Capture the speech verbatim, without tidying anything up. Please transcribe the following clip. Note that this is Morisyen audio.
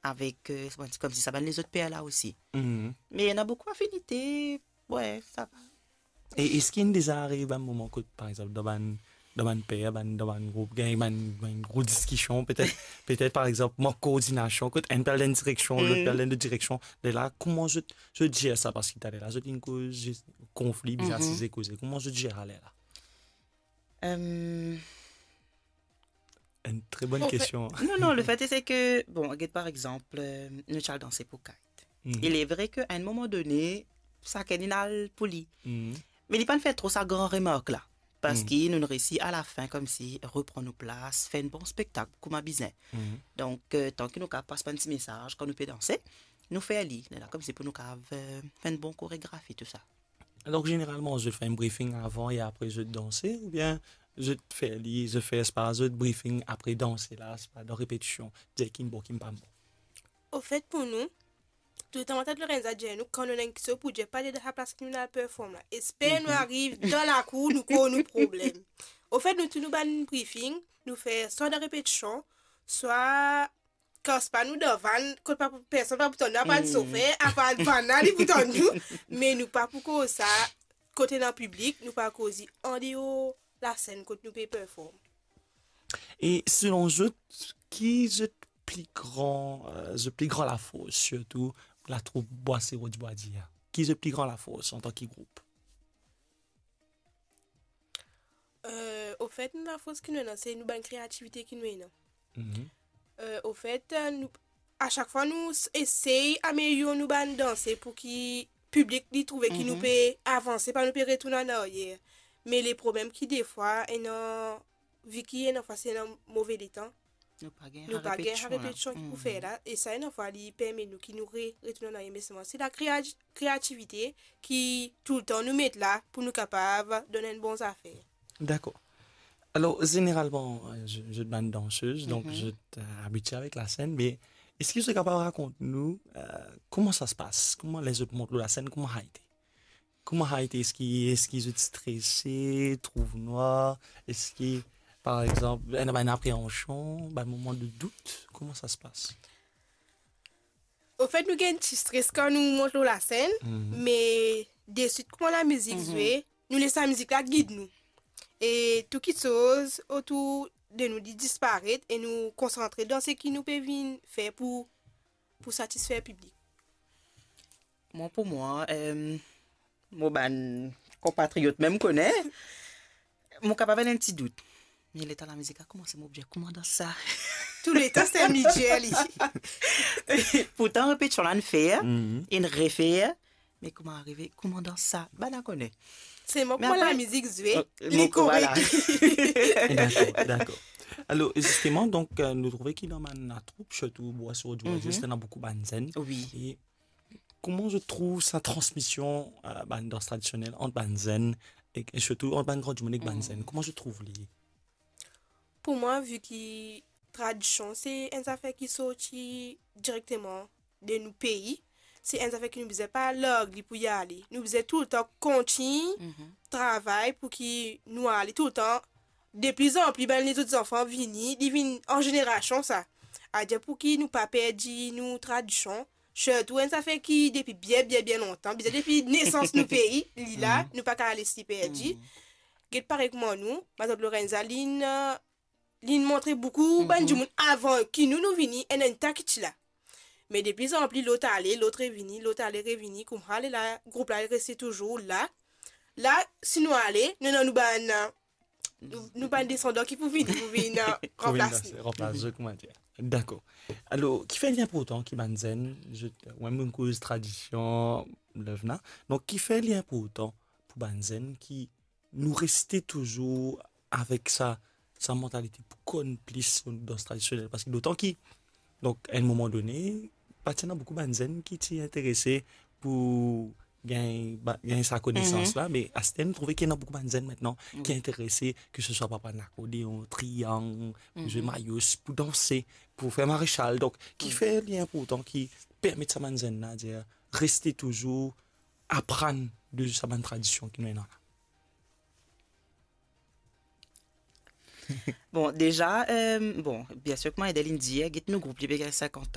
avek, euh, kouma dir, koumsi sa bann lezot per la osi. Mhm. Me ena boukou afinite, we, sa va. E eski inn deza ariv bann moman kot, par exanp, dan bann, dan bann per, bann, dan bann group, gagn bann, bann gro diskision, petet, petet, par exanp, mank koordinasion, kot enn pe al dan enn direksion, lot pe al dan enn lot direksion. Lerla, kouma zot, zot zer sa? Parski taler la, zot inn koz zis konfli, bizin asize koze. Kouma zot zer sa lerla? Euh, Enn tre bonn kestion. Non, non, le fait c'est que, bon, get par exanp, euh, nou ti al danse pou Kite. Mhm. Il est vrai ke a enn moman done, sakenn inn al pou li. Mhm. Me li pa'nn fer tro sa gran remark la. Parski nou, nou resi a la fin koumsi repran nou plas, fer enn bon spektak kouma bizin. Mhm. Donk, euh, tan ki nou kapav pas bann ti mesaz kan nou pe danse, nou fer li. Lerla koumsi pou nou kapav, euh, fer enn bon koregrafi, tou sa. Alor, zeneralman, zot fer enn briefing avan e apre zot danse, oubien zot fer li, zot fer, sepa zot briefing apre danse la, sepa dan repetision, dir ki bon, ki pa bon? Ofet, pou nou, toultan Tante Lorenza dir nou, kan nou ena enn kiksoz pou dir, pa ale dan sa plas ki nou ena perform la. Esper nou ariv dan lakour, nou konn nou problem. Ofet, nou tou nou bann briefing, nou fer swa dan repetision, swa kan sepa nou dan vann, kot pa, personn pa pou tann nou, apar sofer, apar vann la, li pou tann nou, me nou pa pou koz sa, kot ena piblik, nou pa koz li andeor lasenn kot nou pe perform. E selon zot, ki zot pli gran, euh, zot pli gran lafors, sirtou latroup Bwa Siro Dibwadir? Ki zot pli gran lafors antan ki group? Euh, ofet, nou lafors ki nou ena, se nou bann kreativite ki nou ena. Mhm. Euh, ofet, nou, a sak fwa nou s-, esey amelyor nou bann danse pou ki piblik li trouve ki nou pe avanse, pa nou pe retourn an aryer. Me le problem ki defwa, ena, vi ki ena fwa se ena move letan, nou pa gagn sa repetision ki pou fer la, e sa ena fwa li permet nou ki nou re-, retourn an aryer, me selman se la krea-, kreativite ki toultan nou met la pou nou kapav donn enn bon zafer. Dakor. Alor, zeneralman, euh, zot, zot bann dansez, donk zot, euh, abitie avek lasenn, me eski zot kapav rakont nou, euh, kouma sa se pas? Kouma ler zot mont lor lasenn, kouma sa ete? Kouma sa ete? Eski, eski zot strese, trouv nwar? Eski, par exanp, ena bann apreansion, bann moman de dout? Kouma sa se pas? Ofet, nou gagn ti stres kan nou mont lor lasenn, me deswit kouma lamizik zwe, nou les lamizik la gid nou. E tou kiksoz otour de nou, li disparet e nou konsantre dan seki nou pe vinn fer pou, pou satisfer piblik. Mwa, pou mwa, euh, mo bann konpatriot mem kone, mo kapav ena enn ti dout. Me letan lamizik la koumans, mo dir, kouma dans sa? Touletan se li dir li. Pourtan, repetision la inn fer, inn refer, me kouma arive, kouma dans sa? Bann la kone. Selman, kouma lamizik zwe, li korek. Dakor, dakor. Alor, zisteman, donk, euh, nou trouve ki dan bann latroup, sirtou Bwa Siro Dibwadir, ena boukou bann zenn. Wi. E kouma zot trouv sa transmision, euh, bann dans tradisionel ant bann zenn e, e sirtou ant bann gran dimoun ek bann zenn? Kouma zot trouv li? Pou mwa, vi ki tradision se enn zafer ki sorti direkteman de nou pei, se enn zafer ki nou bizin pa larg li pou li ale. Nou bizin toultan kontign travay pou ki nou ale toultan deplizanpli bann lezot zanfan vini, li vinn an zenerasion sa. Adir pou ki nou pa perdi nou tradision, sirtou enn zafer ki depi bien, bien, bien lontan, bizin depi nesans nou pei, li la, nou pa kapav les li perdi. Get parey kouma nou, Matant Lorenza, linn, linn montre boukou bann dimoun avan ki nou, nou vini, enn, enn ta ki ti la. Me deplizanpli, lot ale, lot revini, lot ale, revini, koumsa lerla group la reste touzour la. La, si nou ale, nou ena nou bann, nou, nou bann desandan ki pou vini, pou vinn, euh, pou vinn ranplas nou. Ranplas zot, kouma dir. Dakor. Alor, kifer li inportan ki bann zenn, zot, ou mem nou koz tradision, levna. Donk, kifer li inportan pou bann zenn ki nou reste touzour avek sa, sa mantalite pou konn plis so dans tradisionel? Parski dotan ki, donk, a enn moman done, pa ti ena boukou bann zenn ki ti interese pou gagn, ba, gagn sa konesans la, me aster nou trouve ki ena boukou bann zenn aster ki interese, ke se swa pou aprann lakordeon, triyang, pou zwe mayous, pou danse, pou fer maresal. Donk, kifer li inportan ki permet sa bann zenn la, dir, reste touzour aprann de sa bann tradision ki nou ena la? Bon, deza, euh, bon, biensir, kouma Edel inn dir, get nou group li pe gagn sinkant